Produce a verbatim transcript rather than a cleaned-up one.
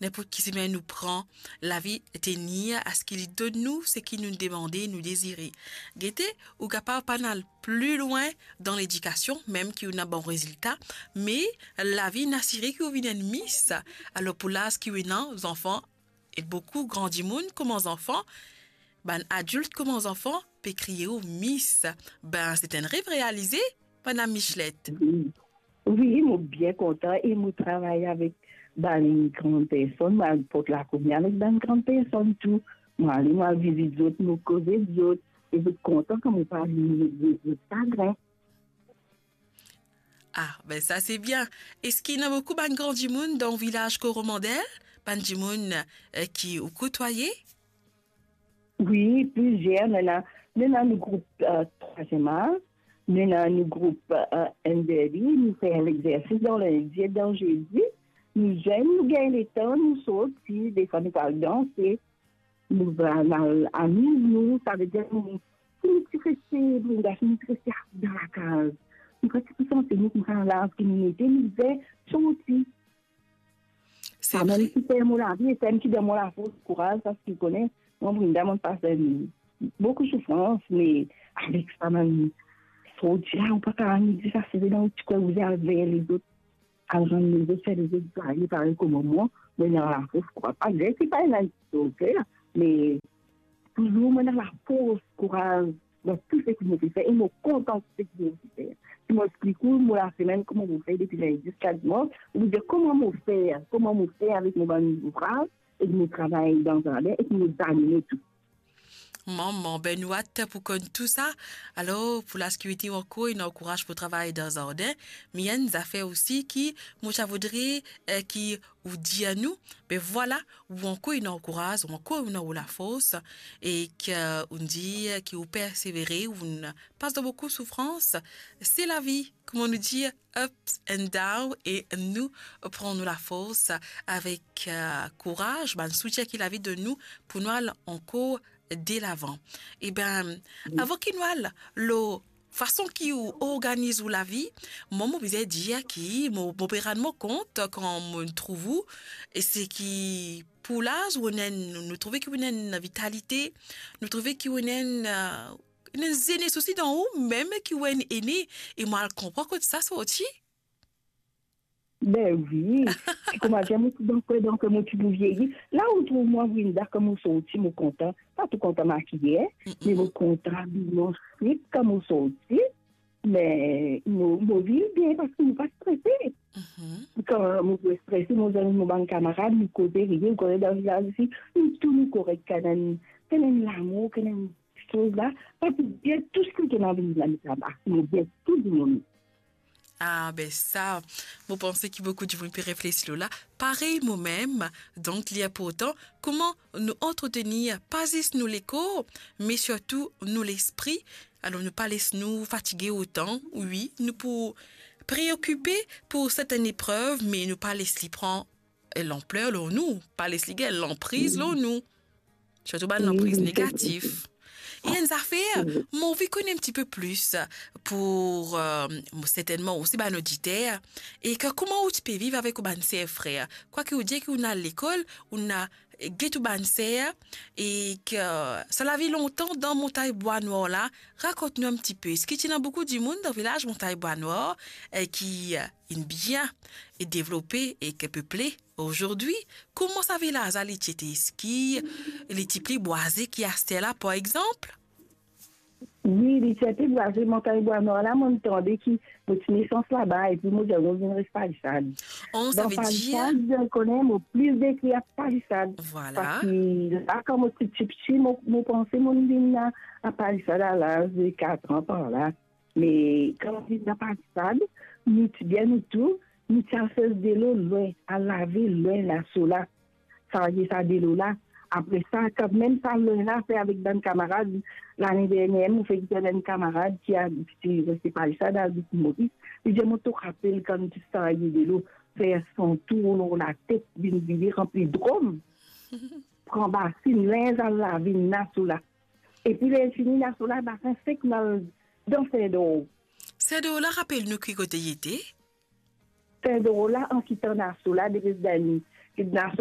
Ninport ki semin nou pran, lavi tenir aski li donn nou seki nou demande, nou dezire. Gete, ou kapav pa al pli lwin dan ledikasion, mem ki ou ena bon rezilta, me lavi inn asire ki ou vinn enn Miss. Alor, pou laz ki ou ena, zanfan, e boukou gran dimoun kouma zanfan, bann adilt kouma zanfan pe kriye ou Miss. Be, se enn rev realize, Madam Michelet. Wi. Wi, mo bien kontan e mo travay avek bann gran personn, mo al port lakomi avek bann gran personn tou. Mo ale, mo al vizit zot, mo koz ek zot, e zot kontan kan mo parle zot, zot, zot sagrin. Ah, be sa se bien. Eski ena boukou bann gran dimoun dan vilaz Koromandel? Bann dimoun, eh, ki ou kotwaye? Wi, plizier. Nou ena, nou ena nou group, eh, Trwaziem Az, nou ena nou group, eh, N D D, nou fer lexersis dan lindi ek dan zedi. Nou zenn, nou gagn letan, nou sorti, defwa nou pe al danse, nou va al amiz nou, savedir nou, si nou ti reste, nou ti reste dan lakaz, nou pa ti pou santi nou koumsa laz ki nou ete, nou bizin sorti. Se vre. Sa mem ki fer mo lavi, e sa mem ki donn mo lafors, kouraz, paski ou kone, mwa, Brinda, mo pas enn boukou soufrans, me avek sa mem sorti la, ou pa kapav dir sa, se dan ou ti kwe, ou bizin al ver lezot, al rann lezot, fer lezot zwaye parey kouma mwa, mo ena lafors, kouraz. Malgre ki pa ena enn ti sofer, me touzour mo ena lafors, kouraz dan tou seki mo pe fer, e mo kontan seki mo pe fer. Si mo explik ou mo lasemenn kouma mo fer depi lindi ziska dimans, ou dir kouma mo fer, kouma mo fer avek mo bann zouvraz, ek mo travay dan zardin, ek mo zanimo tou. Manman, be nou at pou konn tou sa. Alor, pou lasekirite ou ankor ena kouraz pou travay dan zardin, me ena enn zafer osi ki mo ti a voudre, eh, ki ou dir nou, be vwala, ou ankor ena kouraz, ou ankor ena ou lafors, e ki, eh, ou dir ki ou persevere, ou pas dan boukou soufrans, se lavi, kouma nou dir, ups and down, e nou pran nou lafors avek, eh, kouraz, bann soutien ki lavi donn nou pou nou al ankor delavan. Wi. Eben, avan ki nou al lor fason ki ou organiz ou lavi, mwa, mo bizin dir ki mo, mo pe rann mwa kont kan mo trouv ou, e seki pou laz ou ena enn, nou trouve ki ou ena enn vitalite, nou trouve ki ou ena enn, eh, enn zenes osi dan ou, mem ki ou enn ene, e mo al konpran kot sa sorti. Be wi, ti kouma dir mo ti dan kwe, donk mo ti pou vieyi. La ou trouv mwa, Brinda, kan mo sorti, mo kontan. Pa tou kontan makiye, mm-mm, me mo kontan abiye, mo swit kan mo sorti. Me mo, mo viv bien paski mo pa strese. Mhm. Kan mo pe strese, mo zwenn mo bann kamarad, nou koze, riye, ou kone dan vilaz isi, nou tou nou korek, kan ena, kan ena lamour, kan ena soz la, pa pou bien, tou seki ena vinn la, nou travay, nou bien, tou dimoun. Ah, be sa, mo panse ki boukou dimoun pe reflesi lor la, parey momem. Donk, li inportan kouma nou antretenir pa zis nou lekor, me sirtou nou lespri. Alor, nou pa les nou fatige otan. Wi, nou pou preokipe pou sertenn eprev, me nou pa les li pran lanpler lor nou, pa les li gagn lanpriz lor nou. Sirtou bann lanpriz negatif. E enn zafer, mo anvi kone enn tipe plis pou, eh, mo, sertennman osi bann oditer, e ki kouma ou ti pe viv avek ou bann ser frer. Kwaki ou dir ki ou ena lekol, ou ena get ou bann ser, e ki sa lavi lontan dan Montagn Bwa Nwar la, rakont nou enn tipe. Eski ti ena boukou dimoun dan vilaz Montagn Bwa Nwar, eh, ki, eh, inn bien e devlope e ki peple azordi? Kouma sa vilaz la li ti ete? Eski li ti pli bwaze ki aster la, par exanp? Wi, li ti ete bwaze. Montagn Bwa Nwar la, mo'nn tande ki mo ti nesans laba, epi mo dir mo vinn res Palisad. Oh, sa ve dir Palisad, mo kone mo plis dekrir Palisad. Vwala. Paski la, kan mo ti tipti, mo, mo panse mo'nn vinn a, a Palisad a laz de kat an par la. Me kan nou vinn dan Palisad, nou ti bien nou tou, nou ti al sers delo lwin, al lave lwin laso la, sarye sa delo la. Apre sa, kan mem sa lwin la, fer avek bann kamarad, lane dernie, mo fer gete bann kamarad ki al, ki ti reste Palisad, al Boukmoriz. Li dir mo, to rapel kan nou ti sarye delo, fer san tour lor latet, vinn vide, ranpli drom, pran basinn, linz, al lave laso la. Epi ler fini, laso la, basin sek, nou al dan Sendor. Sendor la, rapel nou ki kote li ete? Sendor la, an kitan laso la, depi dan Naso